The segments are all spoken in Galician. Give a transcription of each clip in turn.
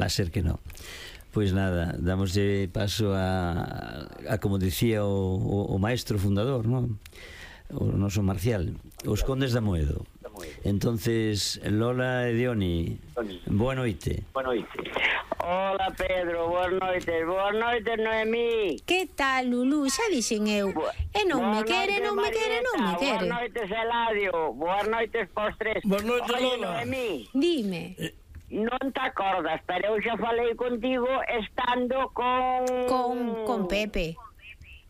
Va a ser que no. Pois nada, damoslle paso a como dicía o maestro fundador, non? O noso Marcial, os Condes da Moedo. Entonces, Lola e Dioni, boa noite. Boa noite. Hola, Pedro, boas noites. Boas noites, Noemí. Que tal, Lulú? Xa dixen eu. E non me quere, non me quere, non me quere. Boas noites, Eladio. Boas noites pos tres. Boas noites, Oye, Lola. Noemí, Dime. non te acordas, pero eu xa falei contigo estando Con Pepe.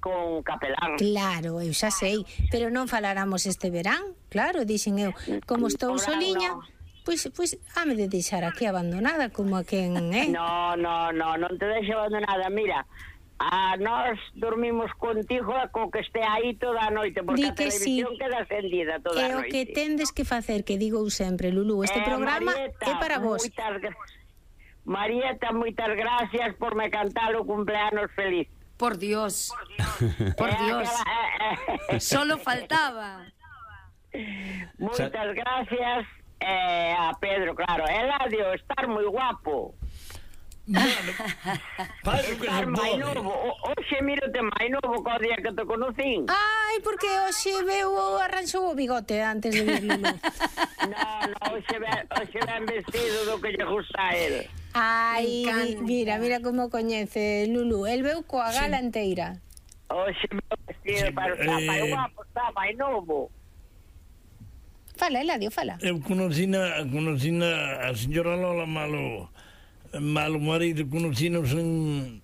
con Capelán. Claro, eu xa sei, pero non falaramos este verán. Claro, dixen eu, como estou No verán, soliña, no. pois hame de deixar aquí abandonada como a quen, Non te deixo abandonada. Mira, nós dormimos contigo co que este aí toda a noite, porque Di a que televisión queda encendida toda a É o noite. que tendes que facer, que digo eu sempre, Lulú, este programa Marieta, é para vos. Marieta, moitas gracias por me cantar o cumpleanos feliz. Por Dios. Por Dios. Solo faltaba. Moitas gracias a Pedro, claro. Eladio, estar moi guapo. Faz o que se Estar máis pode. novo. Oxe, mírate máis novo co día que te conocín. Ai, porque hoxe veu arranxou o bigote antes de vir, Lulú. Non, hoxe ben vestido do que lle gusta a él. Ai, Me encanta. mira como coñece Lulú. El veu coa gala enteira. Hoxe ben vestido Sí, para estar máis guapo, está máis novo. Fala, Eladio, fala. Eu conocina a señora Lola malo marido, conocinos en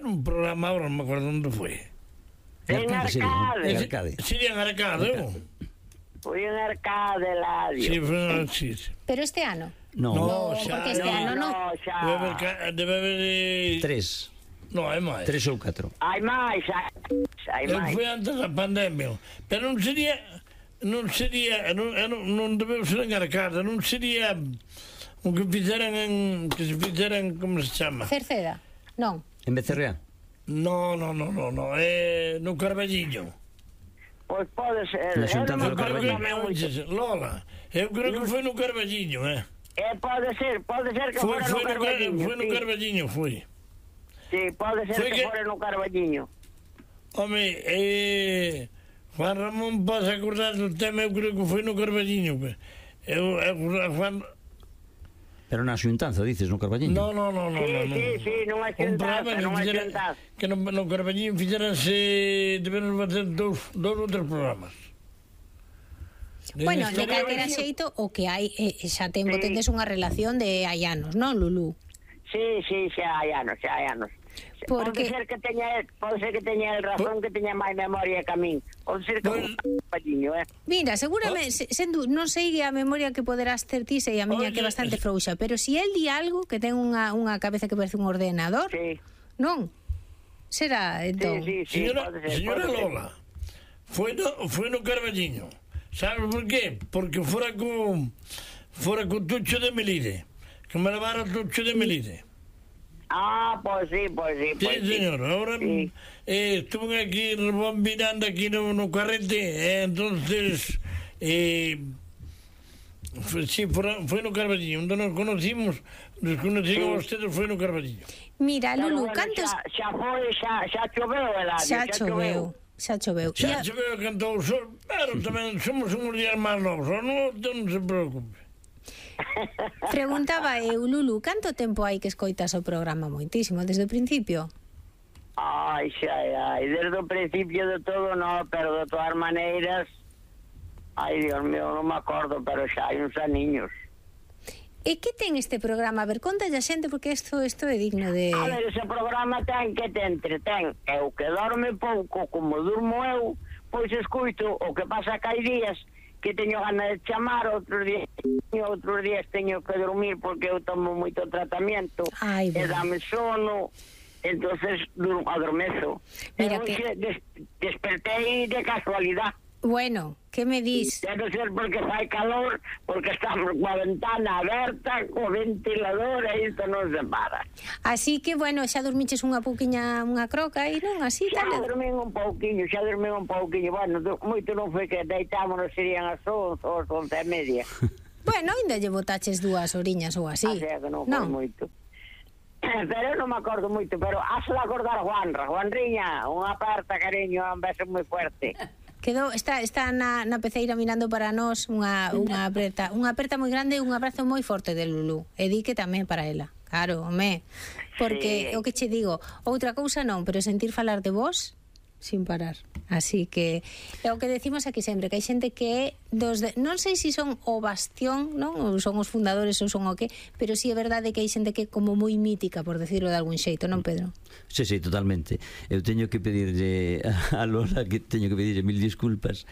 un programa, ahora non me acuerdo onde foi. En Arcade. Sería en Arcade, Foi en Arcade, Eladio. sí, foi así. Pero este ano. No, porque este ano non. xa. Debe haber... 3 No, é máis. ou 4. Hai máis. Eu fui antes da pandemia, pero non debeu ser en Arcade, non sería o que se fixeran, como se chama? Cerceda. Non. En Becerrea? No, é no Carballiño. Pois pode ser. Na xuntanza do Carballiño. Lola, eu creo que foi no Carballiño, Pode ser que Foi fora no Carballiño. no sí. Carballiño, foi. Sí, pode ser Foi que que- fora no Carballiño. Home, Juan Ramón pasa a acordar do tema, eu creo que foi no Carballiño. Juan... Pero na xuntanza, dices, no Carballiño? No. Sí, non hai xuntanza, non hai xuntanza. Que no Carballiño fixeranse, debemos facer dous ou tres programas. Bueno, de calquera xeito, o que hai, xa tendes unha relación de hai anos, non, Lulú? Sí, xa hai anos. Porque- Pode ser que teña el razón, que teña máis memoria que a min. Pode ser que Pues- un Carballiño, Mira, seguramente, non sei a memoria que poderás ter ti, sei a miña que é bastante frouxa, pero si el di algo que ten unha cabeza que parece un ordenador, Sí, non? Será, entón. sí, Señora pode ser. Lola, foi no Carballiño. Sabes por qué? Porque fora co Tucho de Melide, que me levara o Tucho de Melide. Pois sí. Sí, señor, ahora Sí. estuve aquí rebobinando aquí no carrete, entonces foi no Carballiño, onde nos conocimos a ustedes, foi no Carballiño. Mira, Pero Lulú, bueno, cantos... xa choveu, Eladio. Xa choveu. Xa se veo que cantou o sol, pero tamén somos uns días máis novos, non se preocupe. Preguntaba eu, Lulú, canto tempo hai que escoitas o programa? Moitísimo, desde o principio? Desde o principio de todo, no, pero de todas maneiras, Dios mío, non me acordo, pero xa hai uns aniños. E que ten este programa? A ver, contalle a xente, porque isto é digno de... A ver, ese programa ten que te entretén. Eu que dorme pouco, como durmo eu, pois escuito o que pasa que hai días que teño ganas de chamar, outros días teño que dormir porque eu tomo moito tratamento. Ai, E bueno. dame sono, entonces adormezo. Mira Eu que- despertei de casualidad. Bueno, que me dis? Debe ser porque fai calor, porque estamos coa ventana aberta, co ventilador, e isto non se para. Así que, bueno, xa dormiches unha pouquiña, unha croca aí, non? Así, Xa tal? dormín un pouquiño. Bueno, moito non foi que deitámonos, serían as 11 ou as 11:30. Bueno, ainda lle botaches 2 oriñas ou así. Así é que non foi moito. Pero eu non me acordo moito, pero has de acordar Juanriña, unha aperta, cariño, un beso moi fuerte. Está na peceira mirando para nós unha aperta moi grande e un abrazo moi forte de Lulú. E di que tamén para ela. Claro, home. Porque, o que che digo, outra cousa non, pero sentir falar de vos sin parar. Así que é o que decimos aquí sempre, que hai xente que é non sei se son o bastión, non? Ou son os fundadores ou son o que, pero sí é verdade que hai xente que é como moi mítica, por decirlo de algún xeito, non, Pedro? Sí, totalmente. Eu teño que pedirlle a Lola que teño que pedirlle 1000 disculpas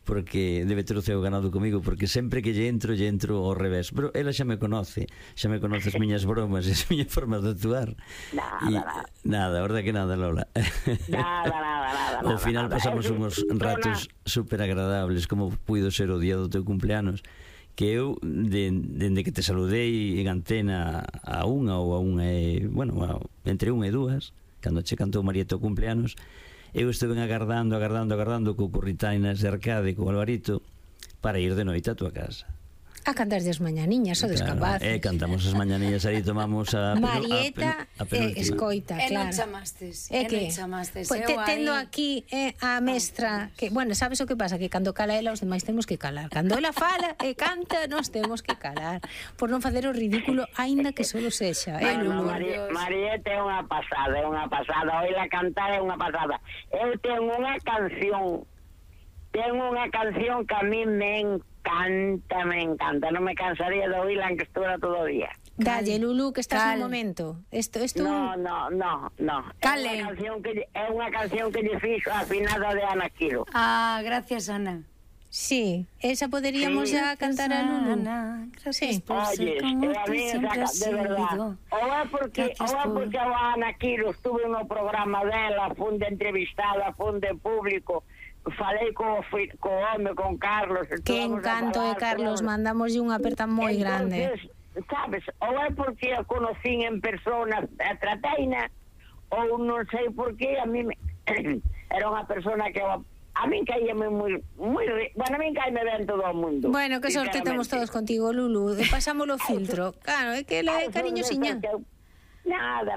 porque debe ter o ceo ganado comigo, porque sempre que lle entro ao revés, pero ela xa me conoce as miñas bromas e as miñas formas de actuar. Nada, verdad que nada, Lola. Nada. Ao final pasamos uns ratos super agradables, como puido ser o día do teu cumpleanos, que eu, dende que te saludei en antena a unha entre unha e dúas, cando che cantou Marieta o cumpleanos, eu estuve agardando co curritainas de Arcade, co Alvarito, para ir de noite a tua casa. A cantar as mañaniñas, sodes capaces. Cantamos as mañaniñas, aí tomamos a Marieta escoita, claro. E non chamastes. Pois tendo aquí a mestra, que, bueno, sabes o que pasa? Que cando cala ela, os demais temos que calar. Cando ela fala e canta, nos temos que calar. Por non facer o ridículo, aínda que solo sexa. Marieta é unha pasada. Oíla cantar é unha pasada. Eu tengo unha canción que a mí me encanta, non me cansaría de oírla en que estuviera todo o día. Dalle, Lulú, que estás en un momento. No. Cale. É unha canción que lle fixo a finada de Ana Quiro. Ah, gracias, Ana. Sí, esa poderíamos ya cantar a Lulú. Gracias por ser como tú siempre has sido. Ou é porque a Ana Quiro estuve no programa dela, fun de entrevistada, fun de público, falei co home, con Carlos. Que encanto de Carlos, mandamoslle unha aperta moi grande. Sabes, ou é porque a conocín en persona, a trataina, ou non sei por qué, a mí era unha persona que a min caíame moi bueno, a min caíme ben todo o mundo. Bueno, que sorte temos todos contigo, Lulú, pasámoslo filtro. Claro, é que ela é cariñosiña. Nada.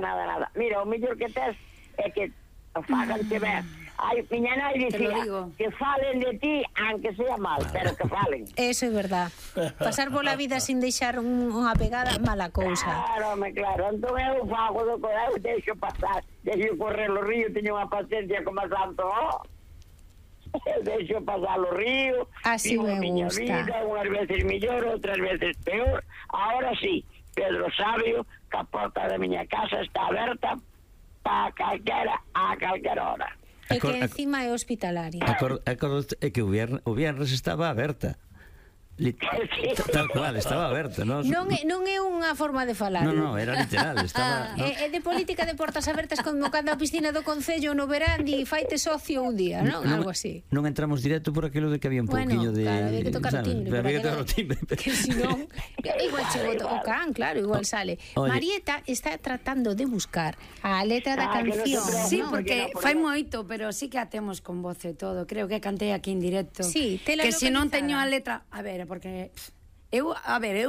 Mira, o mellor que tes é que fáganse ver. Ai, miña nai dicía que falen de ti, aunque sea mal, pero que falen. Eso é verdad. Pasar pola vida sin deixar unha pegada, mala cousa. Claro. Entón eu fago do correo, deixo correr o río, teño unha paciencia como a santo. Eu deixo pasar o río, así me gusta. Vida, unhas veces mellor, outras veces peor. Ahora sí, Pedro Sabio, que a porta da miña casa está aberta a calquera hora. E que encima é hospitalaria. É que o viernes estaba aberta. Tal cual, estaba aberta. Non é unha forma de falar. Non, era literal. É de política de portas abertas como cando a piscina do Concello no verán e faite socio un día, non? Algo así. Non entramos directo por aquilo de que había un pouquiño de... Claro, había que tocar o timbre. Había que tocar o timbre. Que si non... Igual chegou o can, claro, igual sale. Marieta está tratando de buscar a letra da canción. Sí, porque fai moito, pero sí que a temos con voz e todo. Creo que cantei aquí en directo. Sí, que se non teño a letra... A ver, porque eu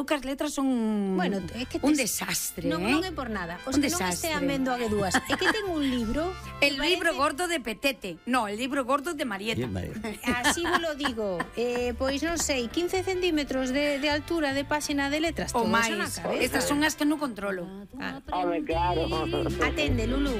que as letras son un desastre, non é por nada. Os que non estean vendo a Guedúas, é que ten un libro, el libro gordo de Petete. No, el libro gordo de Marieta. Así vos lo digo. Pois non sei, 15 centímetros de altura de páxina de letras, o máis. Estas son as que non controlo. Claro. Atende, Lulú.